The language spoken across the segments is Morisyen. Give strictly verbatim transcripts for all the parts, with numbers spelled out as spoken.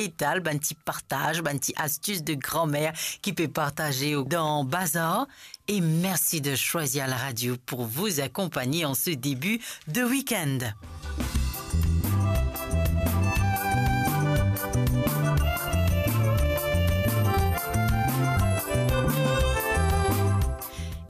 detal, bann ti partaz, bann ti astis de granmer ki pe partaze dan bazar. Et merci de choisir la radio pour vous accompagner en ce début de week-end.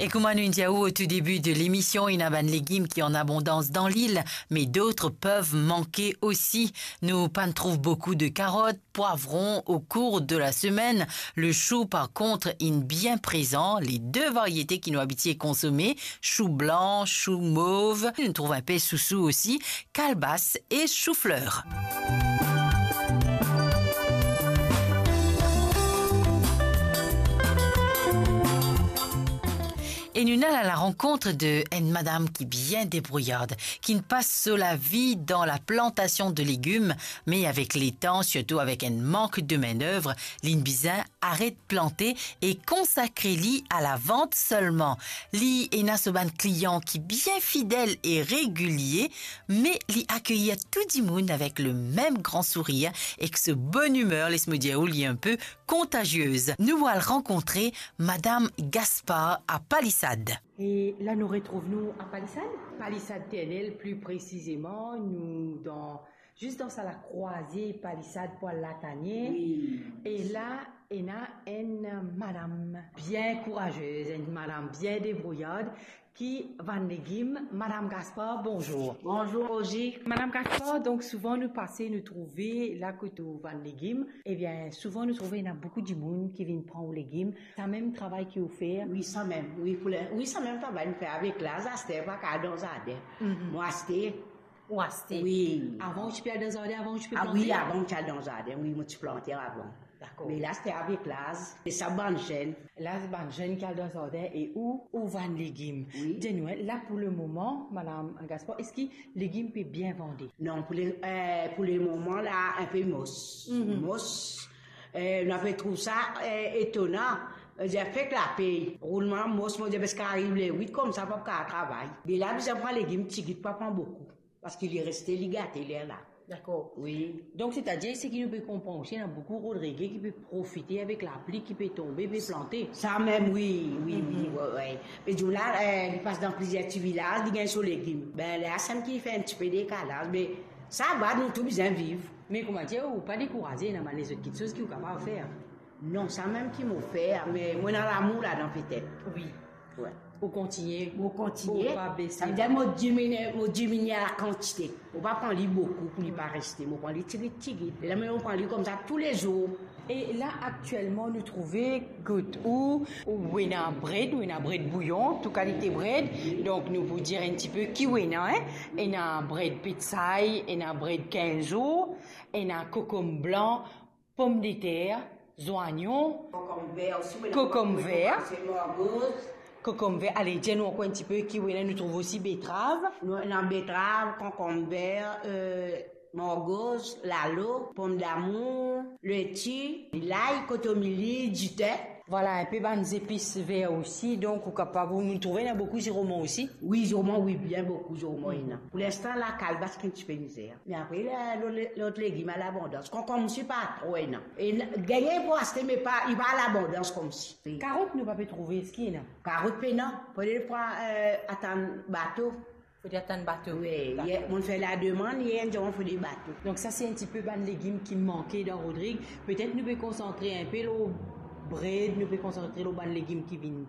E kouma nou inn dir ou o tou debi de lemision, ena bann legim ki an abondans dan lil, me dot pev manke osi. Nou pa'nn trouv boukou de karot, pwavron o kour de la semenn. Le chou, par kont, inn bien prezan. Le de variete ki nou abitie konsome, chou blan, chou mov. Nou trouv inpe sousou osi, kalbas e soufler. E nou al a la rankont de enn madam ki bien debrouyard, ki'nn pas so lavi dan la plantasion de legim, me avek letan, sirtou avek enn mank de maindev, li'nn bizin aret plante e konsakre li a lavant selman. Li ena so bann klian ki bien fidel e regilie, me li akeyir tou dimoun avek le mem gran sourir ek so bonn imer, les mo dir ou, li inpe kontaziez. Nou al rankontre Madam Gaspard a Palisad. E la nou retrouv nou a Palisad? Palisad Ternel, pli presizeman, nou dan, zis dan sa lakrwaze Palisad pou al Latanie. Wi. E la, ena enn madam bien kourazez, enn madam bien debrouyard, ki vann legim. Madam Gaspard, bonzour. Bonzour, Rosie. Madam Gaspard, donk souvan nou pase, nou trouve la kot ou vann legim. Ebien, souvan nou trouve ena boukou dimoun ki vinn pran ou legim. Samem travay ki ou fer? Wi, samem. Wi, pou le, wi, samem travay nou fer avek laz, aster pa kapav al dan zarden. Mhm. Mo aste. Ou aste? Wi. Avan ou ti pe al dan zarden, avan ou ti pe plante? Ah wi, avan mo ti al dan zarden, wi, mo ti plante avan. Dakor. Me la, se avek laz, e sa bann zenn. La, se bann zenn ki al dan zarden e ou, ou vann legim. Wi. Dir nou, la pou le moman, Madam Gaspard, eski legim pe bien vande? Non, pou le, eh, pou le moman la, inpe mos. Mhm. Mos. Eh, nou pe trouv sa, eh, etonan. Eh, dir fek lapey. Roulman mos, mo dir, parski ariv le wit koumsa, pa kapav travay. Me la, bizin pran legim tigit, pa pran boukou. Parski li reste, li gate lerla. Dakor. Wi. Donk, setadir, seki nou pe konpran osi, ena boukou Rodrige ki pe profite avek lapli ki pe tonbe, pe plante. Samem, wi, wi, wi, mhm, wi, wi. Me dimoun la, eh, li pas dan plizier ti vilaz, li gagn so legim. Be la, samem ki fer enn tipe dekalaz, me sa va, nou tou bizin viv. Me koumadir, ou pa dekouraze, ena bann lezot kiksoz ki ou kapav fer? Non, samem ki mo fer, me mo ena lamour ladan petet. Wi. Wi. Ou kontigne. Mo kontigne. Ou pa bese. Savedir mo diminie, mo diminie lakantite. Mo pa pran li boukou pou li pa reste. Mo pran li tigit tigit. E la, mo pran li koumsa toulezour. E la, aktielman, nou trouve kot ou, ou ena bred, ou ena bred bouyon, tou kalite bred. Donk, nou pou dir enn tipe ki ou ena, en? Ena bred petsay, ena bred kinz zour, ena kokom blan, pomdeter, zwayon, kokom ver osi, mo ena kokom ver, margoz. Kokom ver, ale, dir nou ankor enn tipe ki ou ena, nou trouv osi betrav. Nou ena betrav, kokom ver, eh, margoz, lalo, pomdamour, leti, lay, kotomili, dite. Vwala, inpe bann zepis ver osi, donk ou kapav, nou trouve ena boukou ziroman osi. Wi, ziroman, wi, bien boukou ziroman ena. Pou linstan la, kalbas ki enn tipe mizer. Me apre, la, lot, lot legim al abondans. Konkonm osi pa tro ena. E n-, gagn pou aste, me pa, li pa al abondans koumsi. Karot nou pa pe trouve, eski ena? Karot pena. Fode pran, eh, atann bato. Fode atann bato. Wi, dakor. Yer, mo fer lademann, yer, dir mo fode bato. Donk sa se enn tipe bann legim ki manke dan Rodrig. Petet nou pe konsantre inpe lor bred, nou pe konsantre lor bann legim ki vinn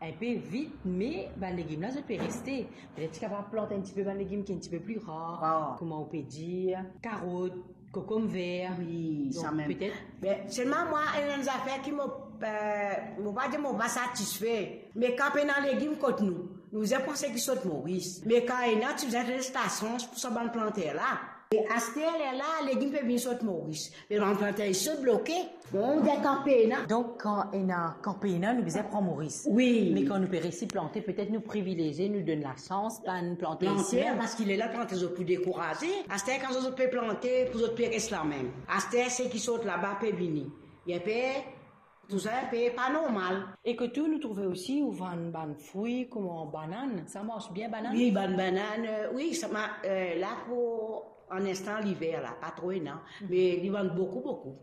inpe vit, me bann legim la, zot pe reste. Petet ti kapav plant enn tipe bann legim ki enn tipe pli rar, rar, kouma ou pe dir, karot, kokom ver. Wi, donk, samem. Petet. Be, selman mwa, ena enn zafer ki mo, eh, mo pa dir mo pa satisfe. Me kan pena legim kot nou, nou bizin panse ki sot Moris. Me kan ena, ti bizin les lasans pou sa bann planter la. E aster lerla, legim pe vinn sot Moris. Me bann planter isi, zot bloke. Bon, ou dir kan pena. Donk, kan ena, kan pena, nou bizin pran Moris. Wi. Me kan nou pe resi plante, petet nou privilezie, nou donn lasans bann planter isi mem. Parski lerla planter zot pou dekouraze. Aster kan zot, zot pe plante, pou zot pe res la mem. Aster seki sot laba pe vini. Inpe, tousa inpe pa normal. E kot ou nou trouve osi, ou vann bann fri, kouma banann. Sa mars bien, banann? Wi, bann banann, eh, wi, sa ma-, eh, la pou an instan liver la, pa tro ena. Mhm. Me li vann boukou, boukou.